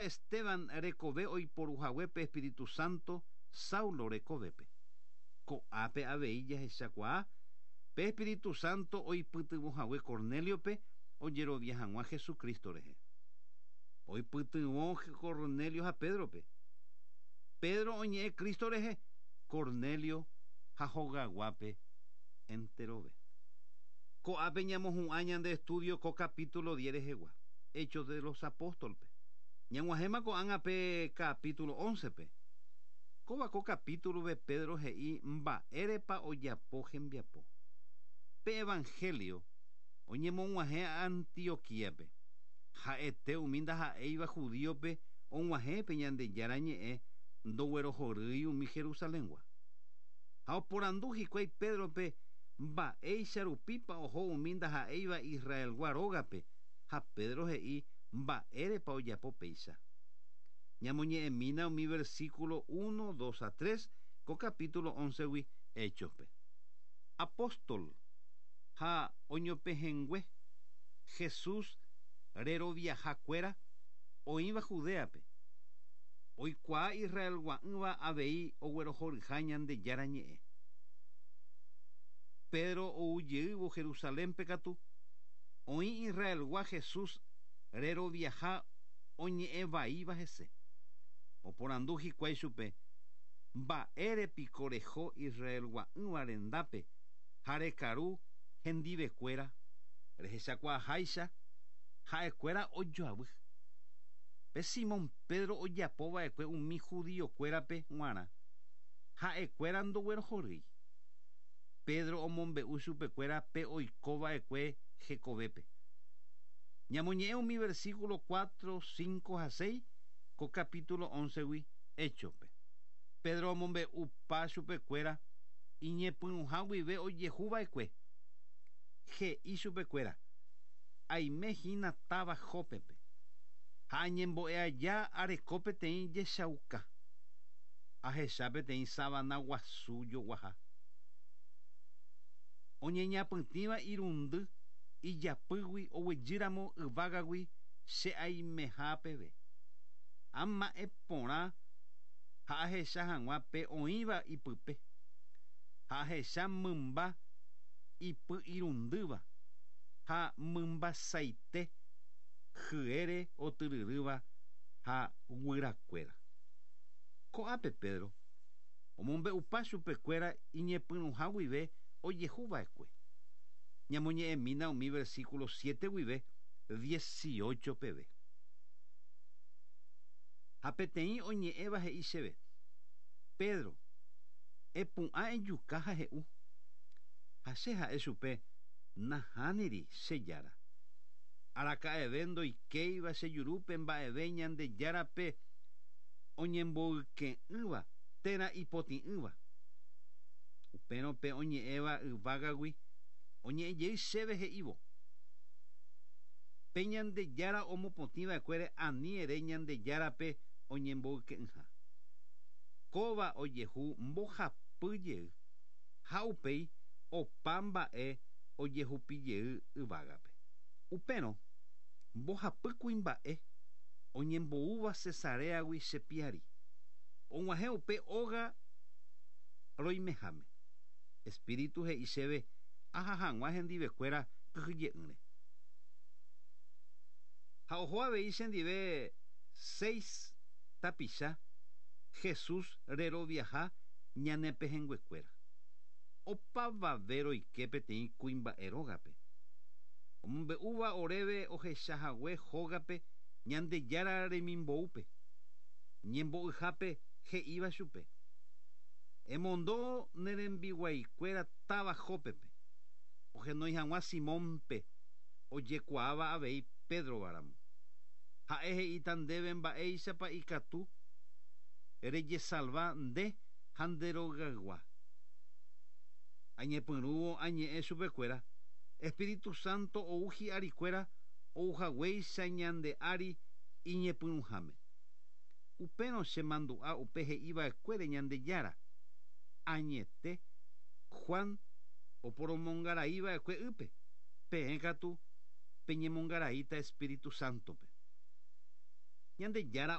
Esteban rekove oiporuhague pe Espíritu Santo Saulo rekovépe. Ko'ápe avei jahechakuaa pe Espíritu Santo oipytyvõhague Cornéliope ojerovia hag̃ua Jesucristo rehe. Oipytyvõ Cornelio ha Pédrope. Pedro oñe'ẽ Cristo rehe, Cornelio ha hogaguápe enterove. Ko'ápe ñamohu'ã ñande estudio ko capítulo 10 rehegua, Hechos de los Apóstol-pe. Ñag̃uahẽma ko'ág̃a pe capítulo 11-pe. Kóva ko capítulo-pe Pedro he'i mba'érepa ojapo hembiapo. Pe Evangelio oñemog̃uahẽ Antioquía-pe. Ha'ete umi ndaha'éiva judío-pe og̃uahẽ pe Ñandejára ñe'ẽ ndoguerohorýi umi Jerusalén-gua. Ha oporandu hikuái Pédrope mba'éicha rupípa oho umi ndaha'éiva Israelgua rógape, ha Pedro he'i mba'érepa ojapo péicha. Ñamoñe'ẽmína umi versículo uno, dos ha tres ko capítulo óncegui Hechos-pe. Apóstol ha oñopehẽngue Jesús reroviaha kuéra oĩva Judéape, oikuaa Israelgua'ỹva avei oguerohoryha Ñandejára ñe'ẽ. Pedro ou jeývo Jerusalénpe katu, oĩ Israelgua Jesús reroviaha oñe'ẽ vaíva hese. Oporandu hikuái chupe, Mba'ére piko reho Israelgua'ỹva rendápe ha rekaru hendivekuéra? Rehechakuaaháicha, ha'ekuéra ojoavy. Pe Simón Pedro ojapo va'ekue umi judíokuérape g̃uarã, ha'ekuéra ndoguerohorýi. Pedro omombe'u chupekuéra pe oiko va'ekue hekovépe. Ñamoñe'ẽ umi versículo cuatro, cinco ha seis ko capítulo óncegui Héchospe. Pedro omombe'upa chupekuéra iñepyrũha guive ojehu va'ekue. He'i chupekuéra, Aime hína táva Jópepe, ha añembo'e aja areko peteĩ jechauka. Ahecha peteĩ savana guasu joguaha. Oñeñapytĩva irundy ijapýgui oguejýramo yvágagui che aimeha peve. Ama'ẽ porã ha ahecha hag̃ua pe oĩva ipype, ha ahecha mymba ipy irundýva ha mymbasaite hyére otyryrýva ha guyrakuéra. Ko'ápe Pedro omombe'upa chupekuéra iñepyrũha guive ojehu va'ekue. Ñamoñe'ẽmína umi versículo siete guive dieciocho peve. Ha peteĩ oñe'ẽva he'i chéve, Pedro, epu'ã ejuka ha he'u. Ha che ha'e chupe, Nahániri, che Jára. Araka'eve ndoikéiva che jurúpe mba'eve Ñandejárape oñemboyke'ỹva térã ipotĩ'ỹva. Upérõ pe oñe'ẽva yvágagui oñe'ẽ jey chéve he'ívo, Pe Ñandejára omopotĩ va'ekuére ani ere Ñandejárape oñemboyke'ỹha. Kóva ojehu mbohapy jey, ha upéi opa mba'e ojehupi jey yvágape. Upérõ, mbohapy kuimba'e oñemboúva Cesaréagui che piári, og̃uahẽ upe óga roimeháme. Espíritu he'i chéve aha hag̃ua hendivekuéra kyhyje'ỹre. Ha oho avei chendive seis tapicha Jesús reroviaha ñane pehẽnguekuéra. Opavave roike peteĩ kuimba'e rógape. Omombe'úva oréve ohecha hague hógape Ñandejára remimboúpe, ñembo'yhápe he'íva chupe, Emondo ne rembiguaikuéra táva Jópepe, ohenói hag̃ua Simónpe, ojekuaáva avei Pédrova ramo. Ha'e he'íta ndéve mba'éichapa ikatu rejesalva nde ha nde rogaygua. Añepyrũvo añe'ẽ chupekuéra, Espíritu Santo ou hi'arikuéra ouhaguéicha ñande ári iñepyrũháme. Upérõ che mandu'a upe he'iva'ekuére Ñandejára, Añete, Juan oporomongaraiva'ekue ýpe, peẽ katu peñemongaraíta Espíritu Sántope. Ñandejára.